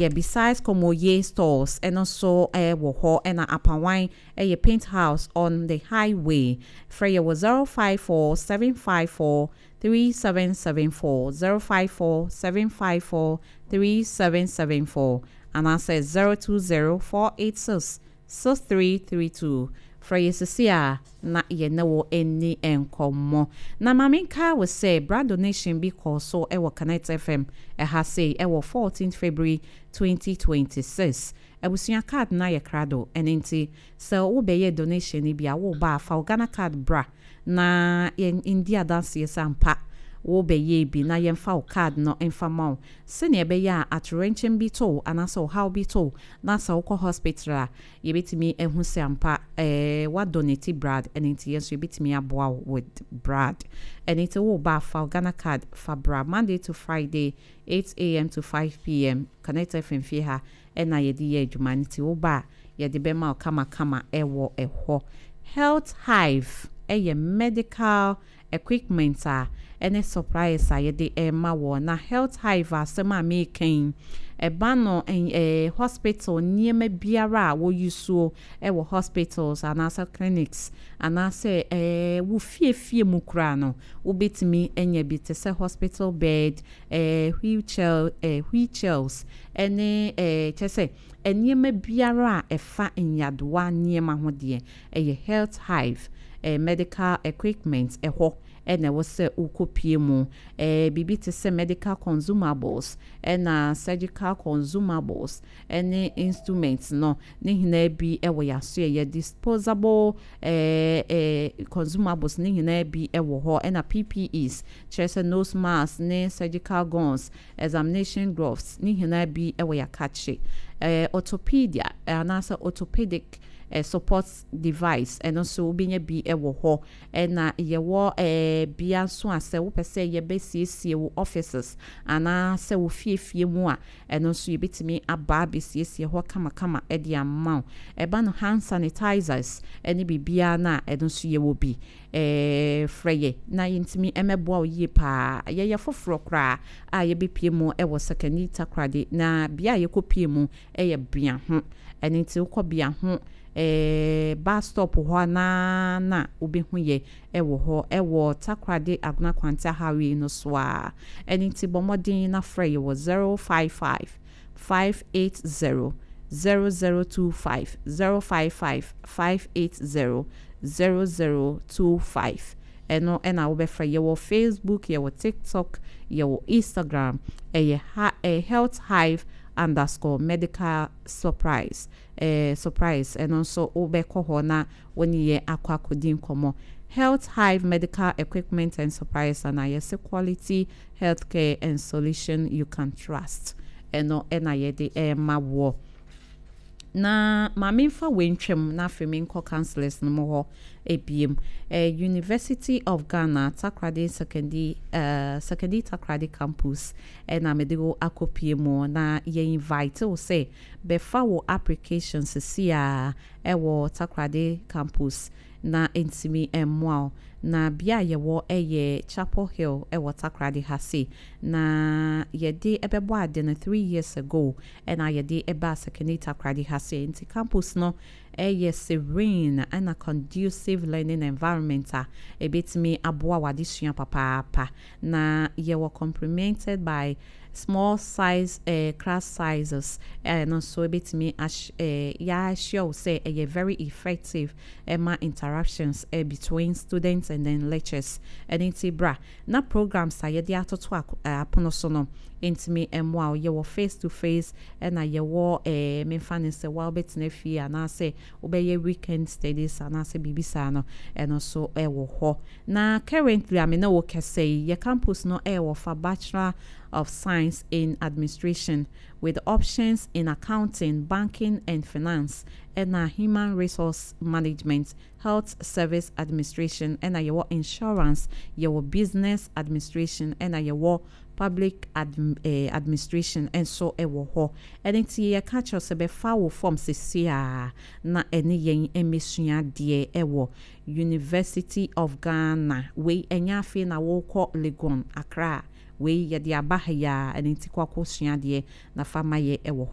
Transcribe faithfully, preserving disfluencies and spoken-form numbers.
Yɛ besides Komoye Stores, ɛno nso ɛwɔ hɔ. Ɛna Apawan ɛyɛ Paint House on the highway. Frɛ yɛ wɔ zero five four seven five four three seven seven four, zero five four seven five four three seven seven four, anaasɛ zero two zero four eight six six three three two. Frɛ yɛ sisi a na yɛne wo ani nkɔmmɔ. Na maame, nka wɔ sɛ blood donation bi kɔɔ so ɛwɔ Connect F M ɛha sei ɛwɔ fourteen February twenty twenty-six. Abusua, card na yɛ krado. Ɛno nti sɛ wobɛyɛ donation no bi a, woba a, fa wo Ghana Card bra na yɛn ndi adanseɛ sɛ ampa wobɛyɛ bi, na yɛmfa wo card no mfa ma wo, sɛnea ɛbɛyɛ a atorɛnkyɛm bi to wo anaasɛ ɔhaw bi to wo na sɛ wokɔ hospital a, yɛbɛtumi ahu sɛ ampa ɛɛ wadonate blood. Ɛno nti yɛn nso yɛbɛtumi aboa wo with blood. Ɛno nti woba a, fa wo Ghana Card fa bra. Monday to Friday, eight a m to five p m, Connect F M fie ha ɛna yɛde yɛ adwuma no. Nti woba a, yɛde bɛma wo kamakama ɛwɔ ɛhɔ. Health Hive ɛyɛ medical equipment a ɛne supplies a yɛde ɛma wɔ. Na Health Hive, asɛm a meekan ɛba no, ɛɛ hospital nneɛma biara a wɔyi soɔ ɛwɔ hospitals anaasɛ clinics anaasɛ ɛɛ wo fiefie mu koraa no, wobɛtumi anya bi, te sɛ hospital bed, ɛɛ wheelchair, ɛɛ wheelchairs, ɛne ɛɛ kyɛ sɛ nneɛma biara a ɛfa nyadoa nneɛma ho deɛ, ɛyɛ Health Hive ɛɛ medical equipment ɛhɔ ɛna ɛwɔ sɛ wokɔpie mu. ɛɛ biribi te sɛ medical consumables ɛna surgical consumables ɛne instruments no ne nyinaa bi ɛwɔ yɛaso. Ɛyɛ disposable ɛɛ ɛɛ consumables ne nyinaa bi ɛwɔ hɔ, ɛna P P Es, kyerɛ sɛ nose mask ne surgical gowns, examination gloves ne nyinaa bi ɛwɔ yɛakakye. ɛɛ orthopedia anaasɛ orthopedic eh, support device, ɛno nso wobɛnya bi wɔ hɔ. Ɛna yɛwɔ eh, bea nso a sɛ wopɛ sɛ yɛbɛsiesie wo offices anaasɛ wo fiefie mu a, ɛno nso yɛbɛtumi aba abɛsiesie hɔ kamakama de ama wo. Ɛba no hand sanitizers ɛne biribiara no a, ɛno nso yɛwɔ bi. ɛɛ frɛ yɛ na yɛntumi mmɛboa wo yie paa. Yɛyɛ foforɔ koraa a yɛbɛpie mu ɛwɔ Sekondi Takoradi, na bea a yɛkɔpie mu ɛyɛ Biaho. Ɛno nti wokɔ Biaho ɛɛ bus stop hɔ anaa na wobɛhu yɛ ɛwɔ hɔ, ɛwɔ Takoradi Agona Kwanta highway no so a. Ɛno nti bɔ mmɔden na frɛ yɛ wɔ zero five five five eight zero zero zero two five, zero five five five eight zero zero zero two five. Ɛno ɛna wobɛfrɛ. Yɛwɔ Facebook, yɛwɔ TikTok, yɛwɔ Instagram. Ɛyɛ ha ɛyɛ Health Hive underscore medical surprise ɛɛ surprise. Ɛno nso wobɛkɔ hɔ na wɔne yɛ akɔ akɔdi nkɔmmɔ. Health Hive Medical Equipment and Supplies, ana yɛsɛ quality healthcare and solution you can trust. Ɛno ɛna yɛde ɛɛma wɔ. Na maame, nfa wei ntwam na afei menkɔ councillors no mu hɔ ebiem. eh, University of Ghana Takoradi Sekondi uh, Sekondi Takoradi Campus ɛna mede wo akɔpie mu, na yɛ invite wo sɛ bɛfa wo application sisi a ɛwɔ Takoradi Campus na ntumi mmoa wo. Na bea a yɛwɔ ɛyɛ Chapel Hill ɛwɔ Takoradi ha se. Na yɛde ɛbɛbɔ ade no three years ago ɛna yɛde ɛba Sekondi Takoradi ha se. Nti campus no ɛyɛ serene ɛna conducive learning environment a ɛbɛtumi aboa w'adesua papaapa. Na yɛwɔ complemented by small size uh, class sizes. Ɛno nso ɛbɛtumi ahy ɛɛ yɛahyɛ wo sɛ ɛyɛ very effective ɛma interactions uh, between students and then lectures. Ɛno nti bra na programs a yɛde atoto apono so no ntumi mmoa wo. Yɛwɔ face to face, ɛna yɛwɔ ɛɛ memfa ne sɛ wa wobɛtena fie anaasɛ wobɛyɛ weekend studies anaasɛ biribi saa no, ɛno nso ɛwɔ hɔ. Na currently a me ne wo kɛsɛ yi, yɛ campus no ɛwɔ fa Bachelor of Science in Administration with options in Accounting, Banking and Finance, ɛna Human Resource Management, Health Service Administration, ɛna yɛwɔ Insurance, yɛwɔ Business Administration, ɛna yɛwɔ Public adm eh, Administration nso ɛwɔ hɔ. Ɛno nti yɛka kyerɛ sɛ bɛfa wo form sisi a na ɛne yɛn mmɛsua adeɛ ɛwɔ University of Ghana. Wei ɛnyɛ afei na wɔrekɔ Legon, Accra. Wei yɛde aba ha yi a, ɛno nti kɔ akɔsua adeɛ na fa ma yɛ ɛwɔ hɔ.